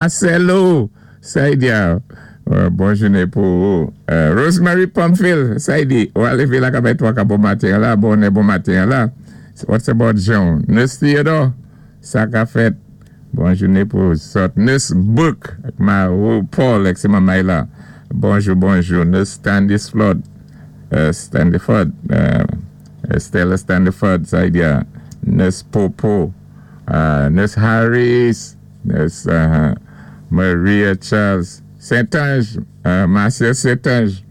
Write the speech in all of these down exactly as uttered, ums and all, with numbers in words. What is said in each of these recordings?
Marcelo, Saidia, bon jouné pou ou. Rosemary Pamphile, Saidi, ou a lévé la kabay twa ka bon maten la, bon bon maten la. What's about Jean? Nurse Theodore, sa ka fèt. Bon jouné pou zòt. Nurse Book, ma ou Paul, ek sé mamay la. Bonjou, bonjou. Nurse Stanley Flood, uh, Stanley Ford, uh, Stella Stanley Ford, Saidia. Nurse Popo, uh, Nurse Harris, Nurse uh, Maria Charles, Saint-Ange, uh, Marcia Saint-Ange,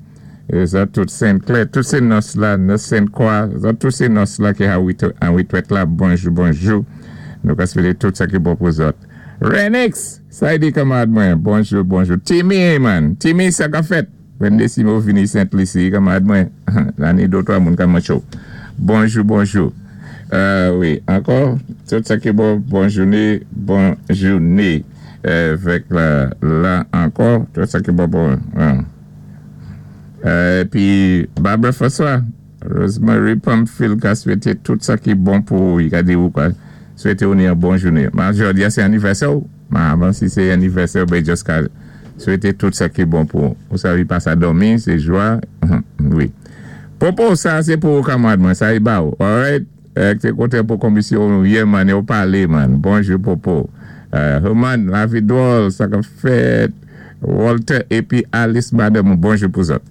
zòt tout Saint-Clair, tout sé nurse la, nurse Sainte-Croix, zòt tout sé nurse la ki an Whitworth la, bonjou, bonjou. Nou ka swété tout sa ki bon pou zòt. Renix, sa di kanmad mwen, bonjou, bonjou. Timmy, man, Timmy, sa ka fèt. Wende si mou vini Saint-Lucie, kanmad mwen, la ni dotwa moun ka macho. Bonjou, bonjou. Euh, wi, ankò, tout sa ki bon, bon jouné, bon jouné. Avèk la, la ankò, tout sa ki bon, bon. Euh, pi, Barbara François, Rosemary Pamphile ka swété tout sa ki bon pou ou, ka di ou kwa, swété ou ni yon bon jouné. Ma jòdi a sé anivèsè ou, ma avan si sé anivèsè ou, ben just ka swété tout sa ki bon pou ou. Ou sa vi pa sa dòmi, sé jwa, wi. Popo, sa sé pou ou kanmad mwen, sa i ba ou, alright? Ek sé koté pou komisyon yé man, yo palé man. Bonjou Popo. Herman, la vi dwòl, sa ka fèt. Walter epi Alice madame, bonjou pou zòt.